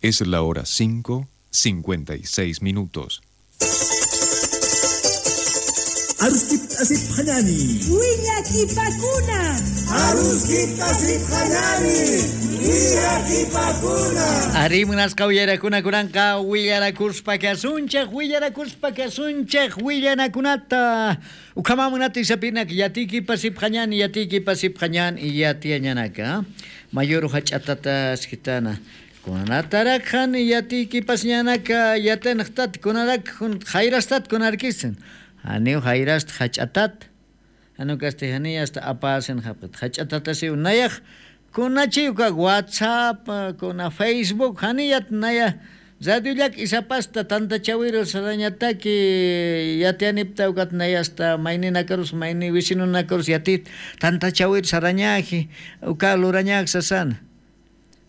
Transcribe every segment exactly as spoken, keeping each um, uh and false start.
Es la hora cinco, cincuenta y seis minutos. Arimunasqa uyarakuna kunanqa willarakuspa kasunchej willarakuspa kasunchej willanakunata ukhamamunata isapinak yatiki pasipqañan yatiki pasipqañan yatiañanaka mayor hach'atata skitana kunatarakhan yatiki pasñanaka yatanaqtat kunarak jayrastat kunarkisin Aniu jairast hach'atat anu kaste hani hasta apasen hapet hach'atata siu nayaj kunachiuka WhatsApp kuna Facebook haniyat naya radiollak isapasta tanta chawiru sarañataki yatianipta ukat nayasta mayni nakarus mayni vicino nakarus yatit tanta chawiru sarañaji uka lurañak sasana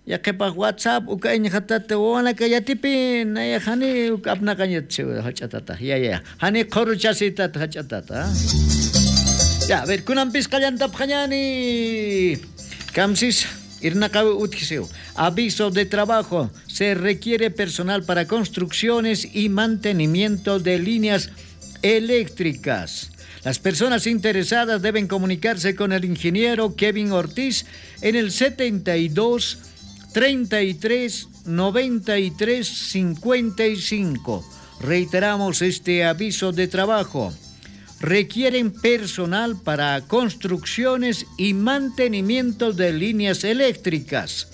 yaqipaq WhatsApp uka iñqatata wawanaka yatipi naya hani uka apnaqañat hach'atata ya ya hani qhuruchasitata hach'atata ya a ver kunanpis qallantapqañani kamsis irnaqawi utjisiw aviso de trabajo se requiere personal para construcciones y mantenimiento de líneas eléctricas. Las personas interesadas deben comunicarse con el ingeniero Kevin Ortiz en el setenta y dos treinta y tres noventa y tres cincuenta y cinco. Reiteramos este aviso de trabajo. Requieren personal para construcciones y mantenimiento de líneas eléctricas.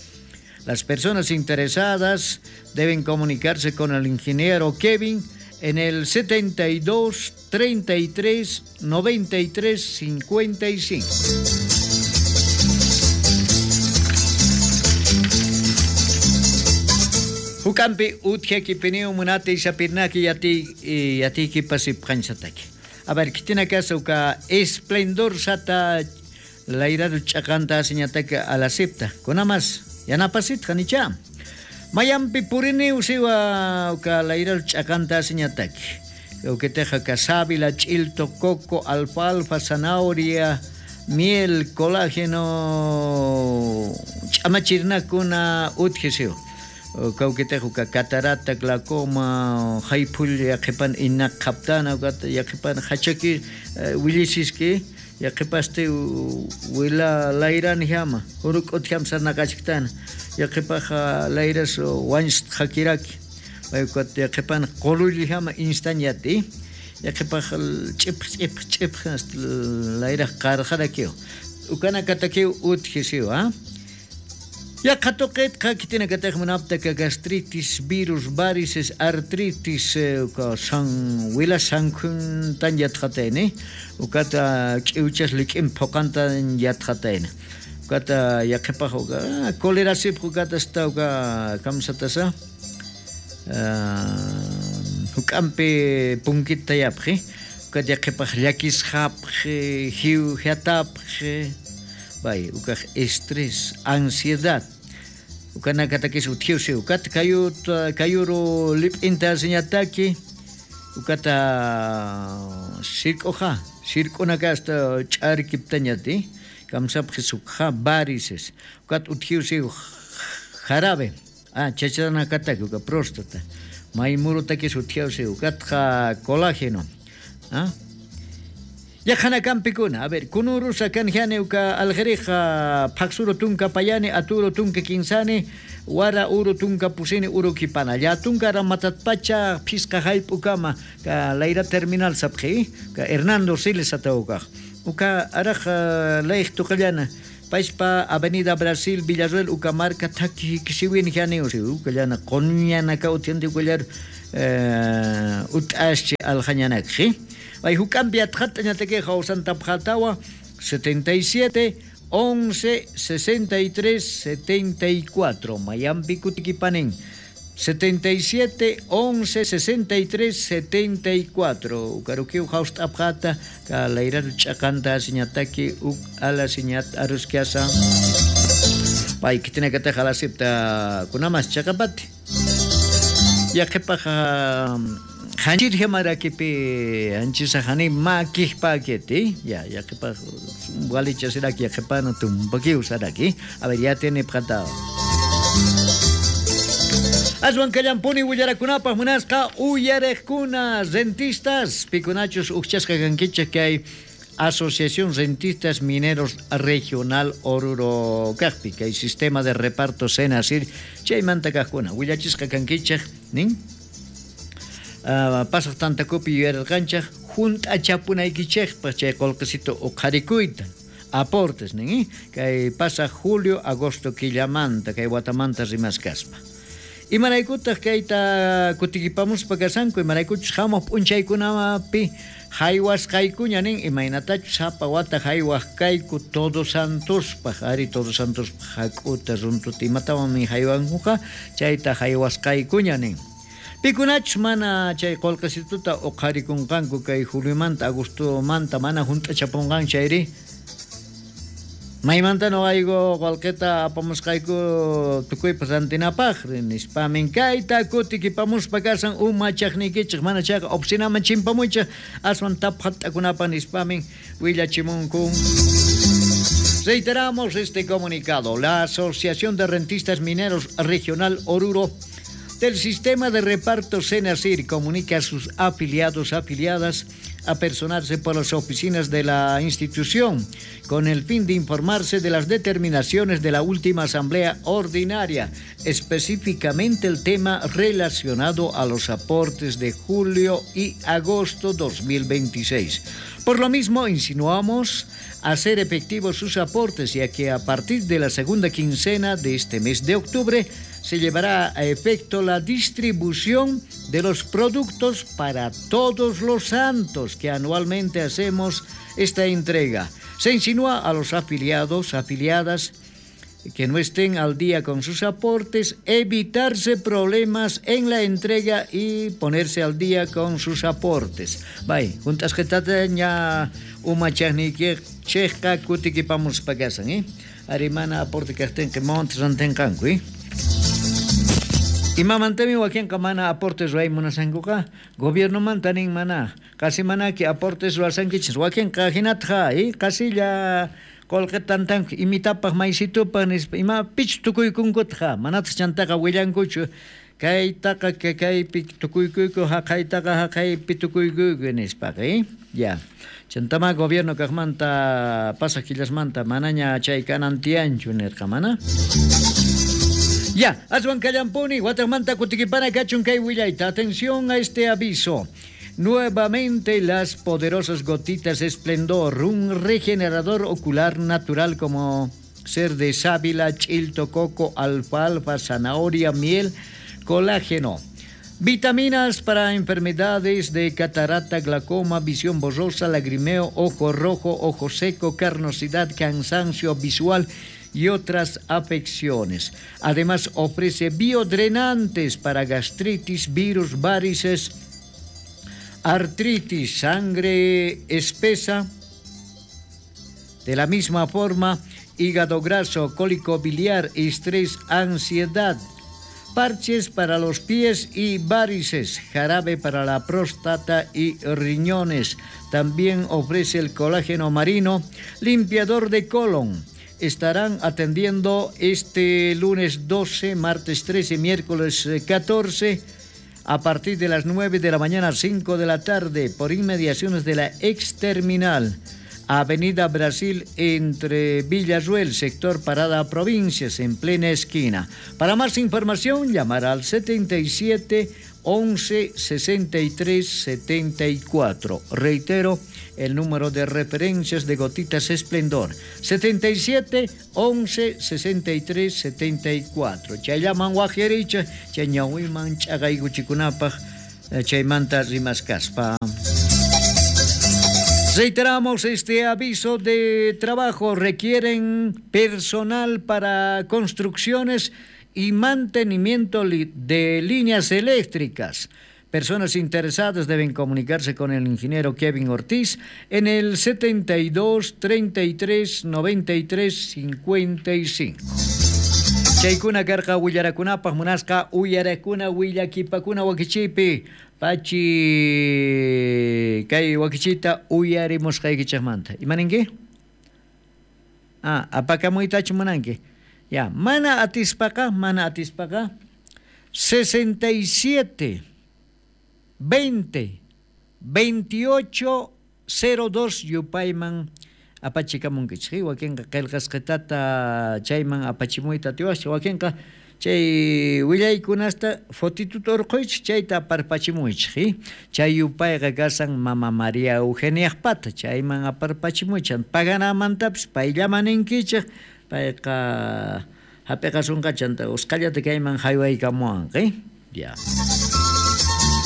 Las personas interesadas deben comunicarse con el ingeniero Kevin en el setenta y dos treinta y tres noventa y tres cincuenta y cinco. Hukampi utjaki piniu munati isapirnaki yati yatiki pasipqanchataki. A ver, kitina kasa uka esplendor sata lairadu ch'aqanta asiñataka alasipta. Kunamas yanapasitqa nicha. Mayampi purini usiwa uka lairadu ch'aqanta asiñataki. Uketeja ka sábila, chilto, coco, alfalfa, zanahoria, miel, colágeno, ch'amachirnakuna utjisiw. Kawkitejo ka catarata, glaucoma, haypul yaqipan inaq qaptana yaqipan hachaki willisiski yaqipaste wila layran hama huruk'ut hamsarnaqachiktana yaqipaj layras wanst hakiraki paykat yaqipan qululli hama instañati yaqipaj ch'ip ch'ip ch'ip layraj qarqarakiw ukana katakiw utjisiw ah Yaqatoqetqa kitinakataq munaptaka gastritis, virus, varices, artritis, uka san wila sankhuntan yatqatayni, ukata ch'iwchas lik'in phuqantan yatqatayni. Ukata yaqipaq uka colerasipaq ukata hasta uka kamsatasa huk'anpi punkita yapqi, ukata yaqipaq llakisqapqi, hiw hiatapqi, bay ukaq estrés, ansiedad. Ukana katakis utjiusi ukata kayut kayuru lip'inta asiñataki ukata sirk'uja sirk'unaka hasta ch'arkiptañati kamsapqi sukja varices ukata utjiusi jarabe ah chachanakataki uka próstata maymurutakis utjiusi ukatqa colágeno ah Yaqhanakanpikuna, a ver, kunurusa kanjani uka aljerija phaksuru tunka payani aturu tunka kinsani wara uru tunka pusini uru kipana llatunka ramatatpacha phisqa hayp'ukama ka layra terminal sapqi ka Hernando Siles atawkaq uka araj layq tuqallana paispa Avenida Brasil Villarruel uka marka thaki kisiwin jani uka llana quñanaka utianti ukallar ut'aschi aljañanakji. Ay hukampi atqat'añataki hawsantapqatawa setenta y siete once sesenta y tres setenta y cuatro Mayampi kutikipanin setenta y siete once sesenta y tres setenta y cuatro Ukarukiw hawst'apqata ka layratu ch'aqanta asiñataki uk ala siñat aruskiasa pay kitinakataq alasipta kunamas chaqapati yaqipaq Hanchir hamarakipi anchisa hani makihpaketi ya yaqipa walicha siraki yaqipana tumpakiw saraki a ver ya tiene pqatao. Aswan kallampuni willarakunapaq munasqa uyarejkuna rentistas pikunachus ujchasqa kankichej kay Asociación Rentistas Mineros Regional Oruro kajpi kay sistema de reparto Senasir chaymanta kajkuna willachisqa kankichej nin uh, pasaq tantakupi yuyarqanchej junt'achapunaykichejpaq chay qolqesito uqharikuyta aportes nin kay pasaq julio agosto killamanta kay watamanta rimaskaspa. Imaraykutaq kayta kutikipamuspa kasanku imaraykuchus hamuq p'unchaykunapi haywasqaykuña nin imaynatachus sapa wata haywaq kayku Todos Santospaq ari Todos Santospaq hak'uta runtuta imatawanmi haywankuqa chayta haywasqaykuña nin. Pikunachus mana chay qolqesituta uqharikunqanku kay juliomanta agostomanta mana junt'achapunqan chayri maymanta noqayku qolqeta apamusqayku tukuypas rantinapaq nispamin kayta kutikipamuspa kasan umachaqniykichej mana chayqa oficinaman chimpamuychej aswan taphat'akunapaq nispamin willachimunku. Reiteramos este comunicado. La Asociación de Rentistas Mineros Regional Oruro del Sistema de Reparto Senasir comunica a sus afiliados, afiliadas, a personarse por las oficinas de la institución con el fin de informarse de las determinaciones de la última asamblea ordinaria, específicamente el tema relacionado a los aportes de julio y agosto dos mil veintiséis. Por lo mismo, insinuamos hacer efectivos sus aportes, ya que a partir de la segunda quincena de este mes de octubre se llevará a efecto la distribución de los productos para todos los santos que anualmente hacemos esta entrega. Se insinúa a los afiliados, afiliadas que no estén al día con sus aportes, evitarse problemas en la entrega y ponerse al día con sus aportes. Bay, juntas ña umachaqniykichejqa kutikipamuspa kasan, eh? Arimana aporte kajtinqa montes rantinqanku, eh? Imamantami wakinqa mana aportes ruway munasankuqa gobiernomanta nin mana qasi manaki aportes ruwasankichis wakinqa hinataqa eh? Qasilla qolqeta tantanku imitapaq maysitupaq nispa ima pich tukuykunkutaqa manataq chantaqa willankuchu kaytaqa kaypi tukuykuyku haqaytaqa haqaypi tukuykuyku nispaqa eh? Ya chantama gobierno kaqmanta pasaq killasmanta manaña chay kanan tiyanchu nirqa mana. Ya, aswan kallampuni, watamanta kutikipana kachun kay willayta. Atención a este aviso. Nuevamente las poderosas gotitas Esplendor, un regenerador ocular natural como ser de sábila, chilto, coco, alfalfa, zanahoria, miel, colágeno. Vitaminas para enfermedades de catarata, glaucoma, visión borrosa, lagrimeo, ojo rojo, ojo seco, carnosidad, cansancio visual y otras afecciones. Además ofrece biodrenantes para gastritis, virus, varices, artritis, sangre espesa. De la misma forma, hígado graso, cólico biliar, estrés, ansiedad, parches para los pies y varices, jarabe para la próstata y riñones. También ofrece el colágeno marino, limpiador de colon. Estarán atendiendo este lunes doce, martes trece, miércoles catorce, a partir de las nueve de la mañana a cinco de la tarde, por inmediaciones de la exterminal, Avenida Brasil, entre Villarruel, sector Parada Provincias, en plena esquina. Para más información, llamar al setenta y siete once sesenta y tres setenta y cuatro. Reitero, el número de referencias de Gotitas Esplendor, setenta y siete once sesenta y tres setenta y cuatro. Chayaman wajericha, chañawiman chagayguchikunapaj, chaymanta rimaskaspa. Reiteramos este aviso de trabajo. Requieren personal para construcciones y mantenimiento de líneas eléctricas. Personas interesadas deben comunicarse con el ingeniero Kevin Ortiz en el setenta y dos, treinta y tres, noventa y tres, cincuenta y cinco. Chaykuna karqa willarakunapaq munasqa uyarakuna willakipakuna wakichipi pachi kay wakichita uyarimusqaykichikmanta. Imaninki? Ah, apakamuytachu munanki? Ya, mana atispaqa, mana atispaqa sesenta y siete veinte veintiocho cero dos yupayman apachikamunkichik. Wakinqa qillqasqitata chayman apachimuyta atiwascha, wakinqa chay willaykunasta fotituta urquychik chayta aparpachimuychik. Chay yupayqa kasan Mama María Eugeniajpata, chayman aparpachimuychik. Paganamantapis payllaman ninkichik, payqa hap'iqasunqa chanta usqhallata kayman haywaykamuwanqa. Ya.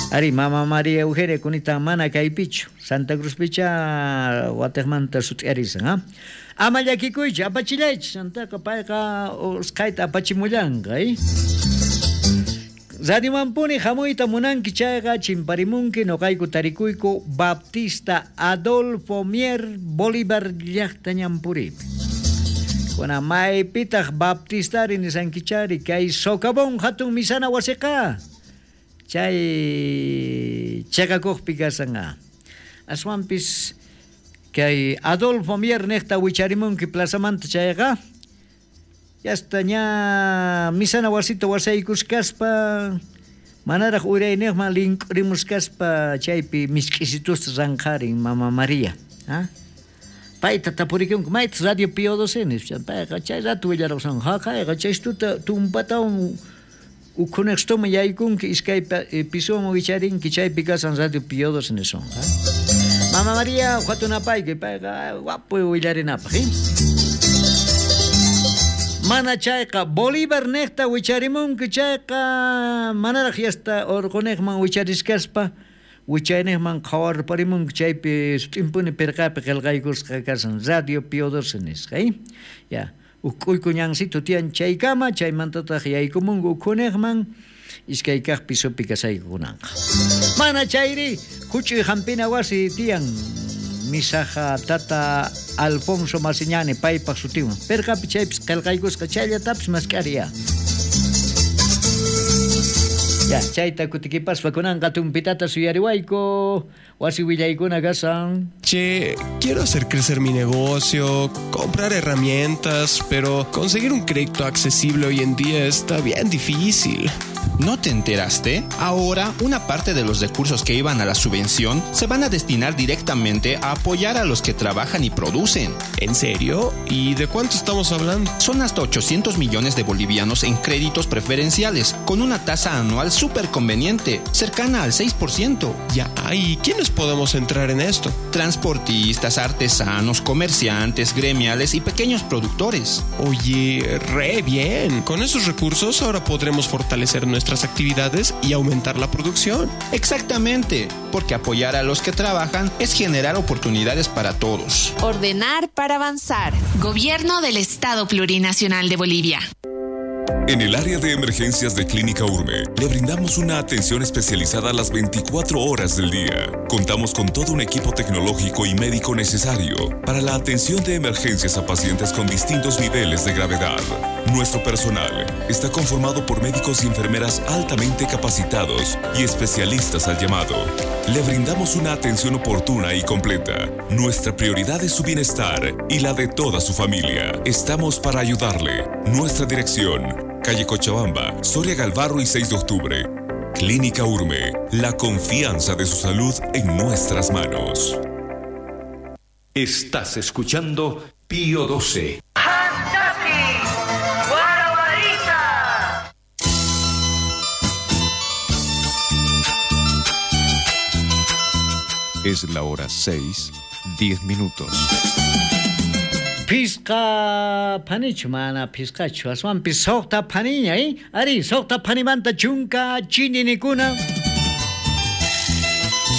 Ari, Mama María Eugenia kunita mana kaypichu, Santa Cruzpicha watiqmanta sut'iyarisan, ha? Ama llakikuychik, apachillaychik, chantaqa payqa usqhayta apachimullanqa, eh? Radiomanpuni hamuyta munanki chayqa chimparimunki noqayku tarikuyku Baptista Adolfo Mier Bolívar llaqta ñanpuripi. Kuna maypitaq Baptistari nisankichari kay socavón hatun misana wasiqa. Chay chaqakuqpi kasan. Aswanpis kay Adolfo Mier niqta wicharimunki plazamanta chayqa yasta ña misana wasita wasaykushkaspa manaraq urayniqman link'urimushkaspa chaypi misk'isitusta ranqarin Mama María. ¿Ah? Payta tapurikunku mayta Radio Pío doce nispa, payqa chay rato willarqasan haqayqa chaystuta tumpatawan ukhunextoma yaykunki iskay pisowan wicharinki chaypi kasan Radio Pío doce nisonqa. Mama María hatunapayki payqa wapu willarinapaq. Eh? Mana chayqa Bolívar niqta wicharimunki chayqa manaraq yasta urquniqman wicharishkaspa wichayniqman qhawarparimunki chaypi sut'impuni pirqapi qillqaykusqa kasan Radio Pío doce nisqa. Eh? Ya. Uk'uyku ñansito tiyan chaykama chaymantataq yaykumunku ukhuniqman iskay kaq pisopi kasaykukunanqa. Mana chayri huch'uy hampina wasi tiyan misaja tata Alfonso Masiñani paypaq sutinwan pirqapi chaypis qillqaykusqa chayllatapis mask'ariya. Ya, chayta kutikipaspa kunanqa tumpitata suyariwayku wasi willaykuna kasan. Che, quiero hacer crecer mi negocio, comprar herramientas, pero conseguir un crédito accesible hoy en día está bien difícil. ¿No te enteraste? Ahora, una parte de los recursos que iban a la subvención se van a destinar directamente a apoyar a los que trabajan y producen. ¿En serio? ¿Y de cuánto estamos hablando? Son hasta ochocientos millones de bolivianos en créditos preferenciales, con una tasa anual súper conveniente, cercana al seis por ciento. Ya, ¿y quiénes podemos entrar en esto? Transportistas, artesanos, comerciantes, gremiales y pequeños productores. Oye, re bien. Con esos recursos ahora podremos fortalecer nuestra nuestras actividades y aumentar la producción. Exactamente, porque apoyar a los que trabajan es generar oportunidades para todos. Ordenar para avanzar. Gobierno del Estado Plurinacional de Bolivia. En el área de emergencias de Clínica Urme, le brindamos una atención especializada a las veinticuatro horas del día. Contamos con todo un equipo tecnológico y médico necesario para la atención de emergencias a pacientes con distintos niveles de gravedad. Nuestro personal está conformado por médicos y enfermeras altamente capacitados y especialistas al llamado. Le brindamos una atención oportuna y completa. Nuestra prioridad es su bienestar y la de toda su familia. Estamos para ayudarle. Nuestra dirección: calle Cochabamba, Soria Galvarro y seis de octubre. Clínica Urme, la confianza de su salud en nuestras manos. Estás escuchando Pío doce. Es la hora seis, diez minutos. Pisqa phanichu mana pisqachu aswanpis suqta phaniña, eh? Ari, suqta phanimanta chunka chininikuna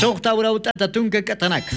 suqta urawtata tunka katanaka.